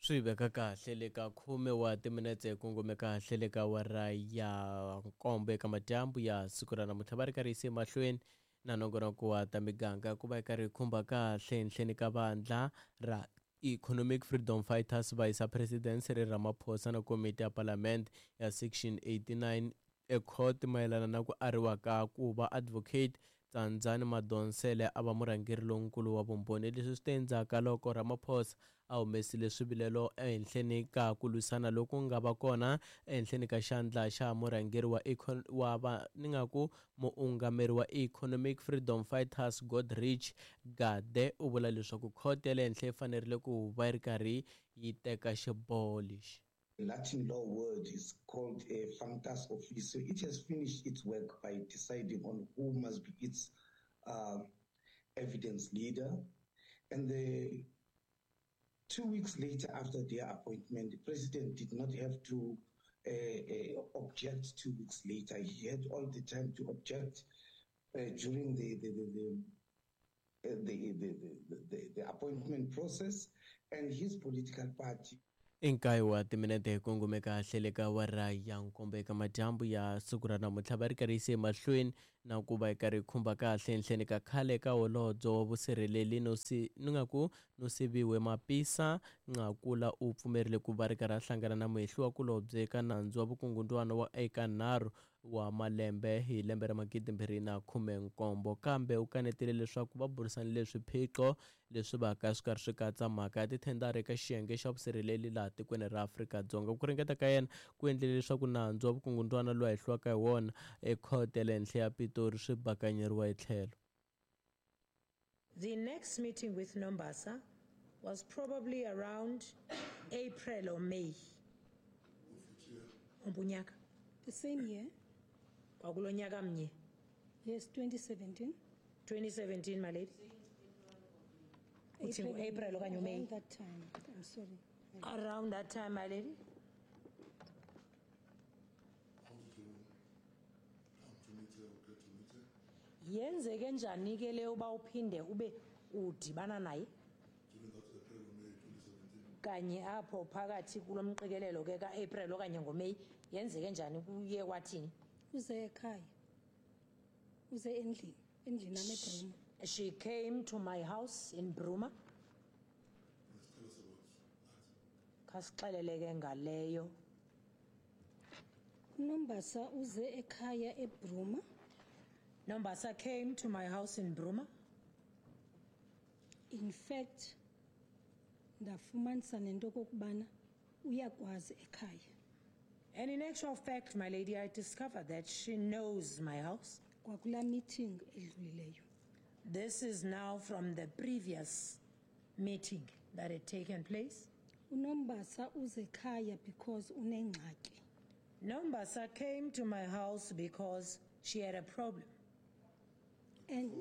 Swi veka kahle le ka khume wa timinetse hi kongome kahle le ka awara ya nkombo eka madyambu ya siku ra namuntlha. Va ri karhi yise emahlweni na nongonoko wa ta miganga ku va yi karhi yi khumba kahle henhleni ka vandla ra Economic Freedom Fighters va yisa President Cyril Ramaphosa na komiti ya Palamende ya Section 89 ecourt mayelana na ku ariwa ka ku va Advocate Tsandzani Madonsele a va murhangeri lonkulu wa vumbhoni. Leswi swi te endzhaku ka loko Ramaphosa a humesile swivilelo ehenhleni ka ku lwisana loku nga va kona ehenhleni ka xandla xa murhangeri wa wa va ni nga ku muungameri wa Economic Freedom Fighters Godrich Gade u vula leswaku khoto ya le henhla yi fanerile ku va yi ri karhi yi teka xiboho lexi. Latin law word is called a functus officio. It has finished its work by deciding on who must be its evidence leader. And the 2 weeks later after their appointment, the president did not have to object 2 weeks later. He had all the time to object during the appointment process, and his political party. I nkaye wa timinete hi kongome kahle le ka awara ya nkombo eka madyambu ya siku ra namuntlha. Va ri karhi yise emahlweni na ku va yi karhi yi khumba kahle henhleni ka khale ka holobye wa vusirheleli no si ni nga ku Nosiviwe Mapisa Nqakula u pfumerile ku va ri karhi a hlangana na muhehliwa kulobye eka nandzu wa vukungundwana wa eka nharhu wa malembe hi lembe ra 2017, kambe u kanetile leswaku va burisanile swiphiqo leswi vaka swi karhi swi katsa mhaka ya tithendara eka xiyenge xa vusirheleli laha tikweni ra Afrika-Dzonga. Ku ringeta ka yena ku endlile leswaku nandzu wa vukungundwana lowu a hehliwaka hi wona ekhoto ya le henhla ya Pitori swi bakanyeriwa etlhelo. The next meeting with Nombasa was probably around April or May. Umbunyaka. The same year. Kwakulo nyaka mnye. Yes, 2017. 2017, my lady. Uthi ngu-April okanye uMay? Around that time. I'm sorry. Around that time, my lady. Yenzeke njani ke le uba uphinde ube udibana naye? Kanye apho phakathi kulo mqikelelo ke ka-April okanye ngoMeyi, yenzeke njani, kuye kwathini? Uze ekhaya. Uze endlini, endlini yam eBruma. She came to my house in Bruma. Khasixelele ke ngaleyo. Nombasa uze ekhaya eBruma. Nombasa came to my house in Bruma. In fact, ndafumanisa nento okokubana uyakwazi ekhaya. And in actual fact, my lady, I discovered that she knows my house. Kwakula meeting edlulileyo. This is now from the previous meeting that had taken place. Unombasa uze ekhaya because unengxaki. Nombasa came to my house because she had a problem. And